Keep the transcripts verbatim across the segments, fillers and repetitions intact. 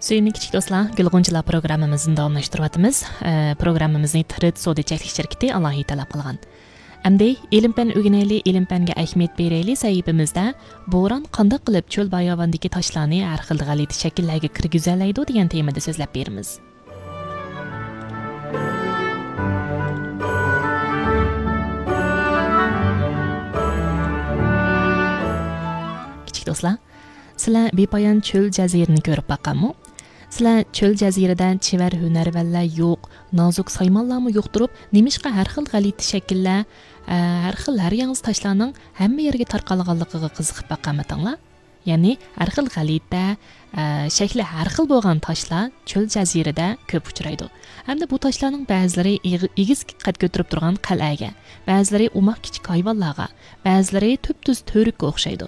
سۆيۈملۈك كىچىك دوستلار، گۈل غۇنچىلار پروگراممىمىزنى داۋاملاشتۇرۇۋاتىمىز. ئە، پروگراممىمىزنى تىرىت سودا چەكلىك شىركىتى ئالاھىدە تەلەپ قىلغان. ئەمدى ئىلىم پەن ئۆگىنەيلى، ئىلىم پەنگە ئەھمىيەت بېرەيلى سەھىپىمىزدە بوران قانداق قىلىپ چۆل باياۋاندىكى تاشلارنى ھەر خىل غەلىتە شەكىللەرگە كىرگۈزەلەيدۇ دېگەن تېمىدا سۆزلەپ بېرىمىز. كىچىك دوستلار، سىلەر بىپايان چۆل جەزىرىنى كۆرۈپ باققانمۇ؟ سىلەر چۆل جەزىرىدە چېۋەر ھۈنەرۋەنلەر يوق، نازۇك سايمانلارمۇ يوق تۇرۇپ، نېمىشقا ھەر خىل غەلىتە شەكىللەر، ئە، ھەر خىل، ھەر ياڭزا تاشلارنىڭ ھەممە يەرگە تارقالغانلىقىغا قىزىقىپ باققانمىتىڭلار؟ يەنى ھەر خىل غەلىتە، ئە، شەكلى ھەر خىل بولغان تاشلار چۆل جەزىرىدە كۆپ ئۇچرايدۇ. ھەمدە بۇ تاشلارنىڭ بەزىلىرى ئېغ-، ئېگىز قەد كۆتۈرۈپ تۇرغان قەلئەگە، بەزىلىرى ئوماق كىچىك ھايۋانلارغا، بەزىلىرى تۈپتۈز تۈۋرۈككە ئوخشايدۇ.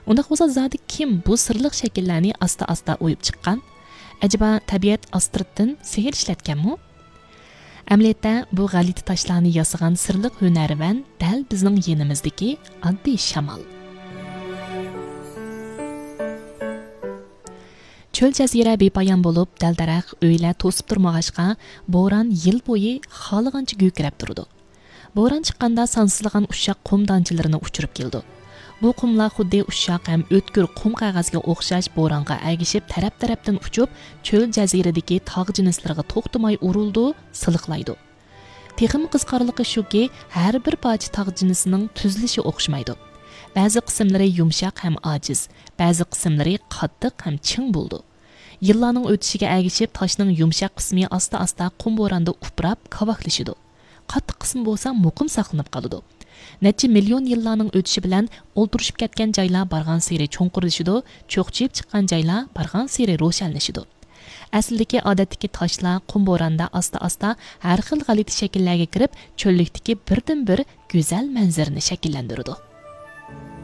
ئۇنداق بولسا زادى كىم بۇ سىرلىق شەكىللەرنى ئاستا-ئاستا ئويۇپ چىققان؟ ئەجەبا تەبىئەت ئاستىرتتىن سېھىر ئىشلەتكەنمۇ؟ ئەمەلىيەتتە بۇ غەلىتە تاشلارنى ياسىغان سىرلىق ھۈنەرۋەن دەل بىزنىڭ يېنىمىزدىكى ئاددىي شامال. چۆل جەزىرە بىپايان بولۇپ، دەل-دەرەخ، ئۆيلەر توسۇپ تۇرمىغاچقا، بوران يىل بويى خالىغانچە گۈركىرەپ تۇرىدۇ. بوران چىققاندا سانسىزلىغان ئۇششاق قۇم دانچىلىرىنى ئۇچۇرۇپ كېلىدۇ. بۇ قۇملار خۇددى ئۇششاق ھەم ئۆتكۈر قۇم قەغەزگە ئوخشاش بورانغا ئەگىشىپ تەرەپ-تەرەپتىن ئۇچۇپ، چۆل جەزىرىدىكى تاغ جىنسلىرىغا توختىماي ئۇرۇلىدۇ، سىلىقلايدۇ. تېخىمۇ قىزىقارلىقى شۇكى، ھەر بىر پارچە تاغ جىنسىنىڭ تۈزۈلۈشى ئوخشىمايدۇ. بەزى قىسىملىرى يۇمشاق ھەم ئاجىز، بەزى قىسىملىرى قاتتىق ھەم چىڭ بولىدۇ. يىللارنىڭ ئۆتۈشىگە ئەگىشىپ، تاشنىڭ يۇمشاق قىسمى ئاستا-ئاستا قۇم بوراندا ئۇپراپ، كاۋاكلىشىدۇ. قاتتىق قىسمى بولسا مۇقىم ساقلىنىپ قالىدۇ. نەچچە مىليون يىللارنىڭ ئۆتۈشى بىلەن ئولتۇرۇشۇپ كەتكەن جايلار بارغانسېرى چوڭقۇرلىشىدۇ، چوقچىيىپ چىققان جايلار بارغانسېرى روشەنلىشىدۇ. ئەسلىدىكى ئادەتتىكى تاشلار قۇم بوراندا ئاستا-ئاستا ھەر خىل غەلىتە شەكىللەرگە كىرىپ، چۆللۈكتىكى بىردىنبىر گۈزەل مەنزىرىنى شەكىللەندۈرىدۇ.